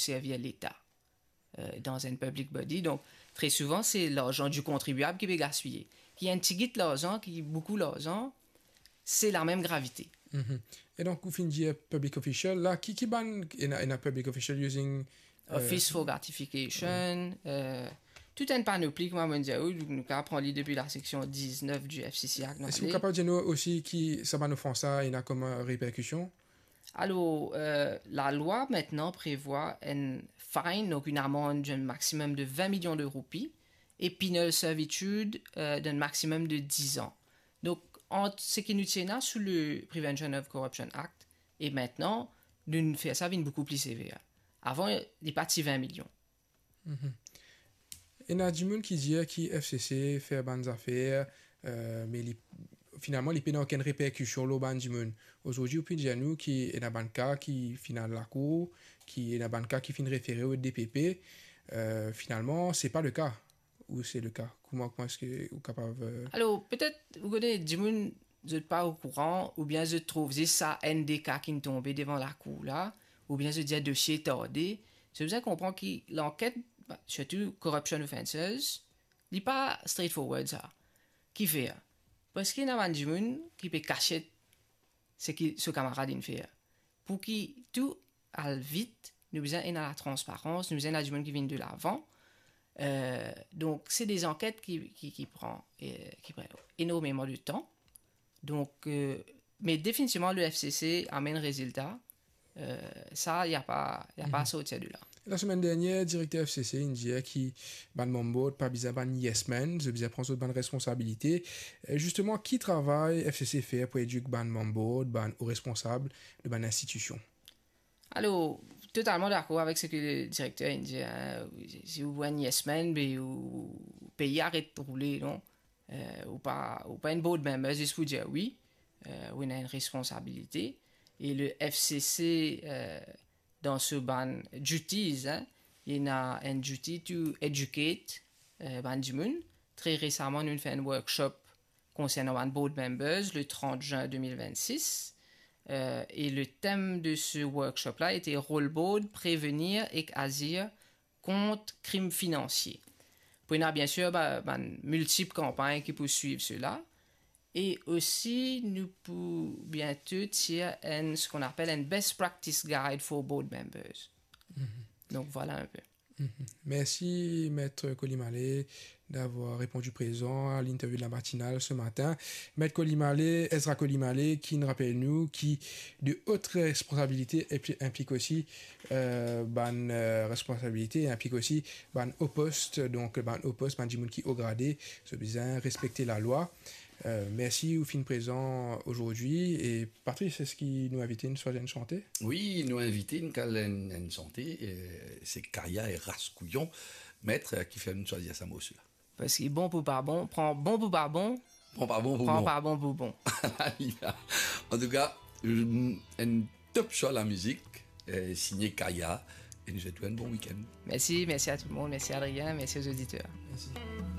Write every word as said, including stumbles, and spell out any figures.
servi Leta, euh, dan enn public body. Donk, tre souvan, se larzan di kontribiab ki pe gaspiye. Ki enn tigit larzan, ki boukou larzan, se lamem gravite. Mhm. E donk, ou finn dir public official, la, ki, ki bann, ena, ena public official using, euh, Office for gratification, euh, tout enn panopli, kouma mo dir, wi, nou kapav pran li depi la seksion diznef di F C C Act, non? Eski ou kapav dir nou osi ki sa bann ofans la, ena kom, euh, reperkision? Alor, euh, lalwa aster prevwa enn fine, donk enn amann d'un maximum de vingt millions de roupies, e penal servitude, euh, d'un maximum de dix ans. Donk, ant seki nou ti ena sou le Prevention of Corruption Act, e aster, nou fer sa vinn boukou pli sever. Avan, li pa ti vingt millions. Mhm. Ena dimoun ki dir ki F C C fer bann zafer, euh, me li, finalman, li pena okenn reperkision lor bann dimoun. Azordi, ou pe dir nou ki ena bann ka ki finn al lakour, ki ena bann ka ki finn refere o D P P. Euh, finalman, se pa le ka. Ou se le ka? Kouma, kouma eski ou kapav, euh, Alor, petet, ou kone, dimoun, zot pa okouran, oubien zot trouv zis sa enn de ka ki tonbe devan lakour la, oubien zot dir dosie tarde. Zot bizin konpran ki lanket, ba, sirtou corruption offences, li pa straightforward sa. Kifer? Parski ena bann dimoun ki pe kasiet seki so kamarad inn fer. Pou ki tou al vit, nou bizin ena latransparans, nou bizin ena dimoun ki vinn delavan. Euh, donk, se de zanket ki, ki, ki pran, euh, ki pran enormeman de tan. Donk, euh, me definitivman, le F C C amenn rezilta. Euh, sa, li pa, li pa sorti de la. Lasemenn dernier, direkter F C C inn dir ki bann member pa bizin bann yes men, zot bizin pran zot bann responsabilite. E zisteman, ki travay F C C fer pou edik bann member, bann o responsab de bann institision? Alor, totalman dakor avek seki le direkter inn dir, hein. Si ou enn yes men, be ou pei aret roule, non? Euh, ou pa, ou pa enn board member zis pou dir wi, euh, ou ena enn responsabilite. E le F C C, euh, dan so bann duties, hein, li ena enn duty to educate, euh, bann dimoun. Tre resaman, nou fer enn workshop konsernan bann board members le trente juin deux mille vingt-six. Euh, e le tem de se workshop la ete Rol Board, prevenir ek azir kont krim finansie. Pou ena, biensir, ba, bann miltip kanpagn ki pou swiv sela. E osi, nou pou biento tir enn, seki nou apel enn best practice guide for board members. Mhm. Donk, vwala enn pe. Mhm. Mersi, Met Kolimale, d'avoir reponn prezan a l'interview de la matinale ce matin. Met Kolimale, Ezra Kolimale, ki'nn rapel nou ki de ot responsabilite enpli-, inplik osi, euh, bann, euh, responsabilite, inplik osi bann o post, donk bann o post, bann dimoun ki o grade, zot bizin respekte lalwa. Euh, mersi ou finn prezan azordi. E Patrice, eski nou invite inn swazir enn sante? Wi, nou invite inn kal enn, enn sante, euh, se Kaya e Ras Kouyon, Met, euh, ki fer nou swazir sa morso la. Parski bon pou pa bon, pran bon pou pa bon, Pran pa bon pou pran bon. pa bon pou bon. Antouka, euh, enn top show lamizik, euh, signé Kaya, e nou swet ou enn bon week-end. Mersi, mersi a tou le mond, mersi Adrien, mersi o zoditer. Mersi.